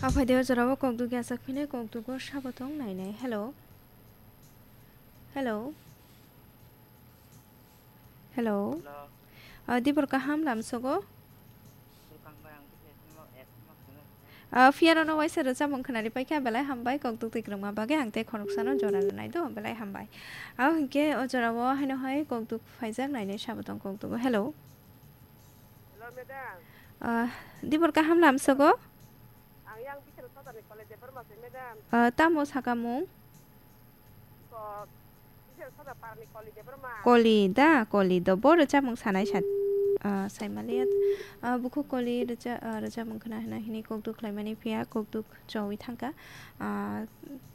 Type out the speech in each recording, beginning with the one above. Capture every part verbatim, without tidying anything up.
Aphai de o jora o kokduk ya sak phine kokduk o sabo tong nai nai. Hello. Hello. Hello. Hello. Ah, dibor kaham lamsogo. Bwkang bai ang bisi esma, esma khwna. Ah, phiya rano waisa rwchapmung khwnari paikha, belai hambai, kokduk twi kwrwngma bagwi ang tei khoroksa no jora rwnai do, belai hambai. Abo hinkhe o jora o haino hai kokduk phaijak nainai sabo tong kokduk o. Hello. Hello, madam. Ah, dibor kaham lamsogo? Ang yang Bishal Sodar ni Koli Debbarma se, madam. Ah, tamo saka mung? Ko, Bishal Sodar para ni Koli Debbarma. Koli da, Koli do. Bo rwchapmung sanai sa, ah, saimaliya. Ah, bukhuk Koli rwcha-, ah, rwchapmung khwna hwnna hini kokduk khlaimani phiya, kokduk chowi thangkha. Ah,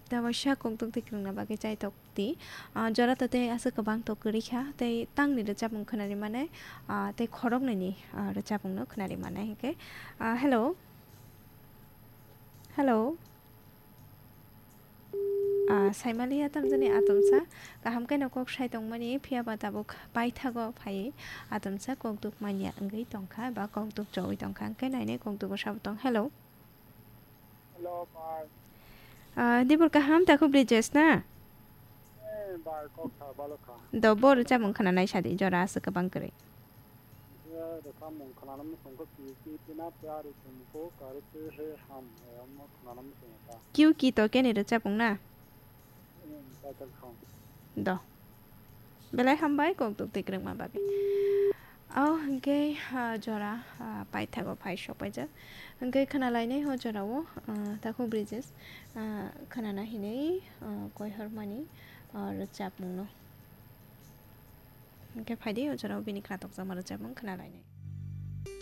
da waisa kokduk twi kwrwngna bagwi chaitok. Twi, ah, jora to tei aswk kwbang to kwrwi kha, tei tangni rwchapmung khwnari mane, ah, tei khoroknwini, ah, rwchapmungno khwnari mane hinkhe, ah, hello. Hello. Ah, saimaliya tamjani atomsa, kaham khe no kok sai tongmani, phiya ba tabuk paithago phai atomsa kokduk manya wngwi tongkha ba kokduk chowi tongkha, hinkhe nainai kokduk o sabo tong. Hello. Hello, bar. Ah, dibor kaham, takhuk Brijesh na? Eh, bar, kok tha, balo kha. Do, bo rwchapmung khwnanai sadi, jora aswk kwbang kwrwi. Je rwchapmung khwnana muchungkha ki ki tina pyari tumko kare te he ham, eh, omo khwnana muchungkha. Kiu ki to keni rwchapmung na? Eh, title song. Do. Belai hambai, kokduk twi kwrwngma bagwi. O hinkhe, ah, jora, ah, paithago phai sokpaijak. Hinkhe khwnalainai o jorao, ah, takhuk Brijesh, ah, khwnana hinwi, ah, koihormani, ah, rwchapmungno. Hinkhe phaidi o jorao bini khwnatokjakma rwchapmung khwnalainai.